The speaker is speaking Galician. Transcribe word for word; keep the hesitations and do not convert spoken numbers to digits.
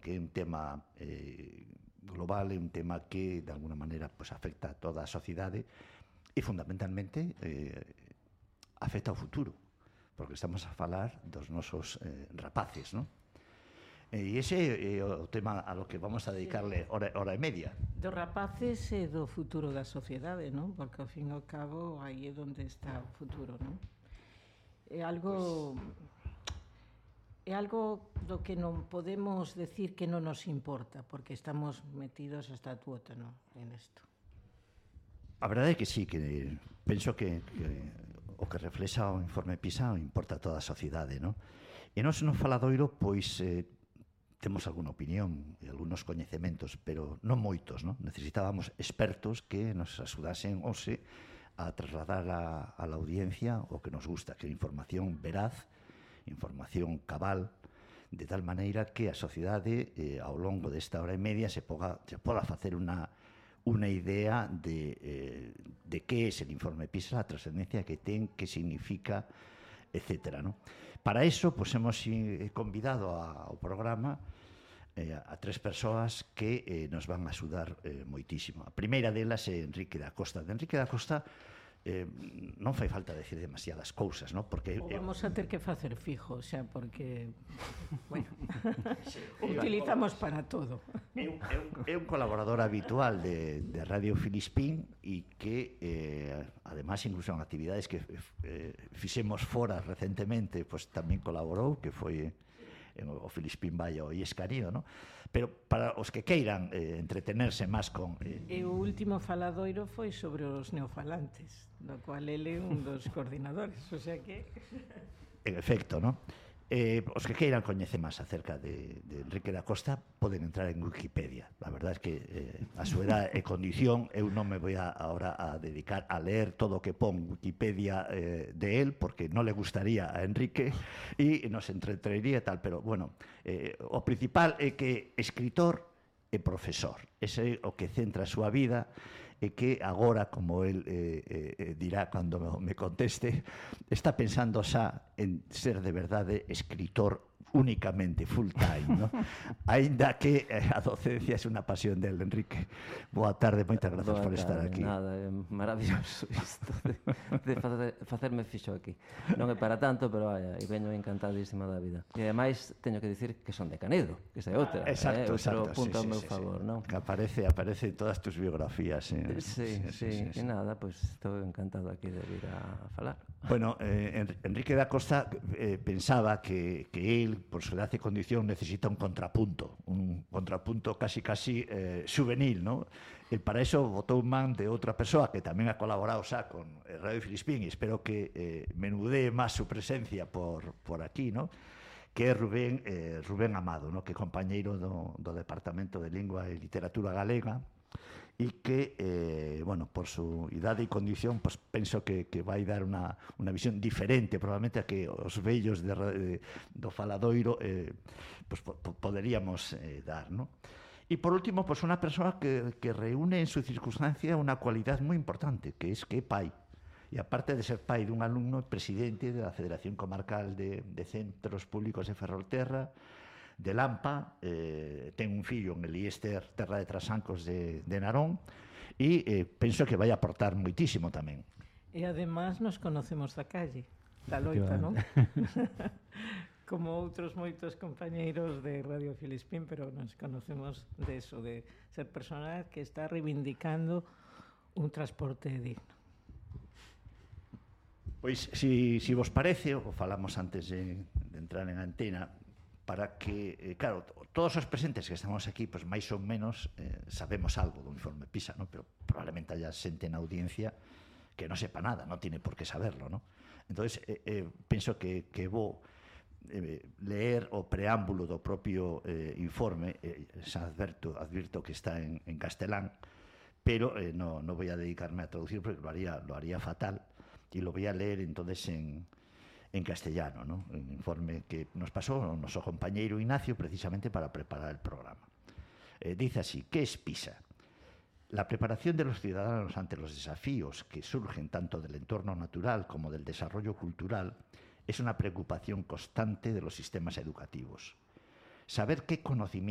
porque é un tema eh, global, é un tema que de alguna maneira pues, afecta a toda a sociedade e fundamentalmente eh, afecta ao futuro, porque estamos a falar dos nosos eh, rapaces, non? E ese é o tema a lo que vamos a dedicarle hora, hora e media. Dos rapaces e do futuro da sociedade, non? Porque ao fin e ao cabo aí é onde está o futuro, non? É algo é algo do que non podemos decir que non nos importa, porque estamos metidos hasta a tuótano en isto. A verdade é que sí, que penso que, que o que reflexa o informe PISA importa a toda a sociedade, non? E nós no faladoiro, pois, eh, temos alguna opinión e algunos coñecementos, pero non moitos, non? Necesitábamos expertos que nos axudasen hoxe a trasladar a, a la audiencia o que nos gusta, que é información veraz, información cabal, de tal maneira que a sociedade eh, ao longo desta hora e media se poda, se poda facer unha, unha idea de, eh, de que é el informe PISA, a trascendencia que ten, que significa, etcétera, ¿no? Para eso, pues, hemos convidado ao programa eh, a tres persoas que eh, nos van a axudar eh, moitísimo. A primeira delas é Enrique da Costa. De Enrique da Costa eh, non fai falta decir demasiadas cousas, ¿no? Porque o vamos a ter que facer fijo, xa, porque bueno, sí, utilizamos para todo. É un, é un, é un colaborador habitual de, de Radio Filispín e que eh, además incluso en actividades que eh, fixemos fora recentemente, pues tamén colaborou, que foi en o Filispín vai ao Iescarío, ¿no? Pero para os que queiran eh, entretenerse máis con... Eh, e o último faladoiro foi sobre os neofalantes, do cual ele é un dos coordinadores, o sea que... En efecto, ¿no? Eh, os que queiran coñecer máis acerca de, de Enrique da Costa poden entrar en Wikipedia. La verdad es que eh, a súa edad e condición eu non me voy a, ahora a dedicar a leer todo o que pon Wikipedia eh, de él, porque non le gustaría a Enrique e nos entretería e tal, pero bueno, eh, o principal é que escritor e profesor, ese é o que centra a súa vida e que agora, como el eh, eh, dirá cando me conteste, está pensando xa en ser de verdade escritor únicamente, full time, ¿no? Ainda que eh, a docencia é unha pasión del Enrique. Boa tarde, moitas grazas Boa por estar tarde, aquí. Nada, é maravilloso isto de, de facer, facerme fixo aquí. Non é para tanto, pero vaya, e veño encantadísima da vida. E ademais teño que dicir que son de Canedo, que esa é outra. Exacto, eh, exacto. Outro punto sí, ao meu sí, favor, sí. non? Que aparece, aparece en todas tus biografías. Eh. Sí, sí, sí, sí, sí. E nada, pois pues, estou encantado aquí de vir a falar. Bueno, eh, Enrique da Costa eh, pensaba que, que él, por su edad y condición, necesita un contrapunto, un contrapunto casi casi eh, juvenil, ¿no? El para eso votó un man de otra persona que también ha colaborado xa con Radio Filispín, y espero que eh, menudee más su presencia por, por aquí, ¿no? Que é Rubén, eh, Rubén Amado, ¿no? Que é compañeiro do, do Departamento de Lingua e Literatura Galega, e que, eh, bueno, por su idade e condición, pues, penso que, que vai dar unha, unha visión diferente, probablemente a que os vellos de, de, do faladoiro eh, pues, po, poderíamos eh, dar, ¿no? E por último, pues, unha persoa que, que reúne en su circunstancia unha cualidad moi importante, que es que é pai. E aparte de ser pai dun alumno, presidente da Federación Comarcal de, de Centros Públicos de Ferrolterra, de Lampa, eh, ten un fillo en el Iester Terra de Trasancos de, de Narón, e eh, penso que vai aportar moitísimo tamén. E además nos conocemos da calle, da loita, non? Como outros moitos compañeiros de Radio Filispín, pero nos conocemos de eso, de ser personas que está reivindicando un transporte digno. Pois, si, si vos parece, o falamos antes de, de entrar en antena, para que, eh, claro, todos os presentes que estamos aquí, pues máis ou menos eh, sabemos algo do informe PISA, ¿no? Pero probablemente haya xente na audiencia que non sepa nada, non tiene por qué saberlo, ¿no? Entonces, eh, eh, penso que, que vou eh, leer o preámbulo do propio eh, informe, eh, xa adverto, advirto que está en, en castelán, pero eh, no, no voy a dedicarme a traducir porque lo haría, lo haría fatal, y lo voy a leer entonces en, en castellano, ¿no? Un informe que nos pasó nuestro compañero Ignacio precisamente para preparar el programa. Eh, dice así: ¿qué es PISA? La preparación de los ciudadanos ante los desafíos que surgen tanto del entorno natural como del desarrollo cultural es una preocupación constante de los sistemas educativos. Saber qué conocimientos